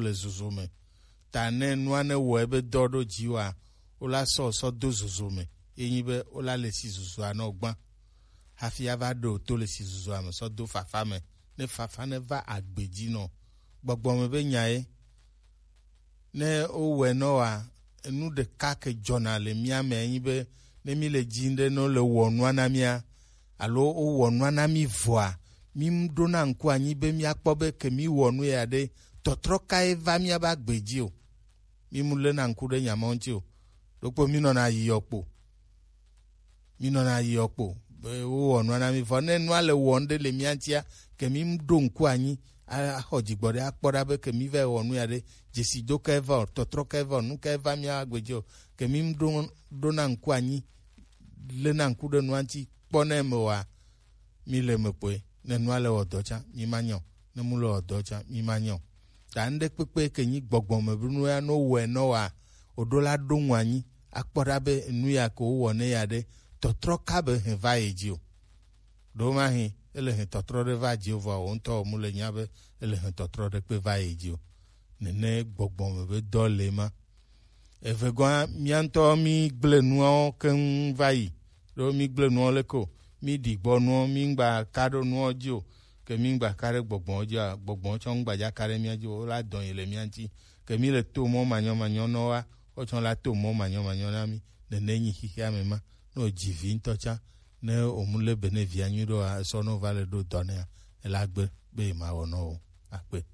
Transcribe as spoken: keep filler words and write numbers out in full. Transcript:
le zozo me. Ta ne nua ne wɔ ebe dɔ ɖo dzi wa, wola sɔ sɔ do zozo me. Ye nyi be wola le si zozua nɔ gbã. Hafi ava ɖo to le si zozua me sɔ do fafa me. Ne fafa ne va agbe dzi nɔ. Gbɔgbɔ me be nya ye. Ne wowɔe nɔ wa, enu ɖeka ke dzɔna le mía me nyi be ne mí le dzi ɖe ne wole wɔ nua na mía, alo wowɔ nua na mí vɔa, mí ɖona ŋku anyi be míakpɔ be ke mí wɔ nu ya ɖe, tɔtrɔ kae va míabe agbe dzi o. Mí mu lena ŋku ɖe nya ma ŋuti o. Ɖokpo mí nɔna yiyɔ kpo. Mí nɔna yiyɔ kpo. Be wowɔ nua na mí vɔ. Ne nua le wɔm ɖe le mía ŋutia, ke mí ɖo ŋku anyi, a- axɔ dzigbɔ ɖe akpɔ ɖa be ke mí va wɔ nu ya ɖe, dzesi do kae va o, tɔtrɔ kae va o, nu kae va mía agbe dzi o, ke mí ɖo ɖona ŋku anyi, lena ŋku ɖe nua ŋuti, kpɔ ne eme wa, mí le eme kpoe. Ne nua le wɔ dɔ tsã, mí ma nyɔ. Ne mu le wɔ dɔ tsã, mí ma nyɔ. Ta ŋɖe kpekpe ke nyi gbɔgbɔ me be nu ya no wɔe nɔ wa, o ɖo la ɖo ŋu anyi, akpɔ ɖa be nu ya ke wowɔ ne ya ɖe, tɔtrɔ ka be hɛn va ye dzi o. Ɖo ma hɛn, ele hɛn tɔtrɔ ɖe va dzi o, vɔ o ŋutɔ o mu le nya be ele hɛn tɔtrɔ ɖe kpe va ye dzi o. Nene gbɔgbɔ me be dɔ le ma. Evegɔa, mía ŋutɔ mí gblẽ nuawo keŋ va yi. Ɖo mí gblẽ nuawo leke o. Mí ɖi gbɔ nuwo, mí ŋgba ka ɖo nuwo dzi o. Ke mí ŋgba ka ɖe gbɔgbɔwo dzi o. Gbɔgbɔwo tsɔ ŋgba dza ka ɖe mía dzi o. Wola dɔn yi le mía ŋuti. Ke mí le to mɔ manyɔmanyɔ nɔ wa, wotsɔ la to mɔ manyɔmanyɔ na mí. Nene nyi xixia me ma. Ne wodzi vi ŋutɔ tsã, ne womu lé be ne via nyui ɖoa, esɔ ne wova le ɖo dɔ nɛa, ela gbe be yemawɔ nɔ o. Akpe.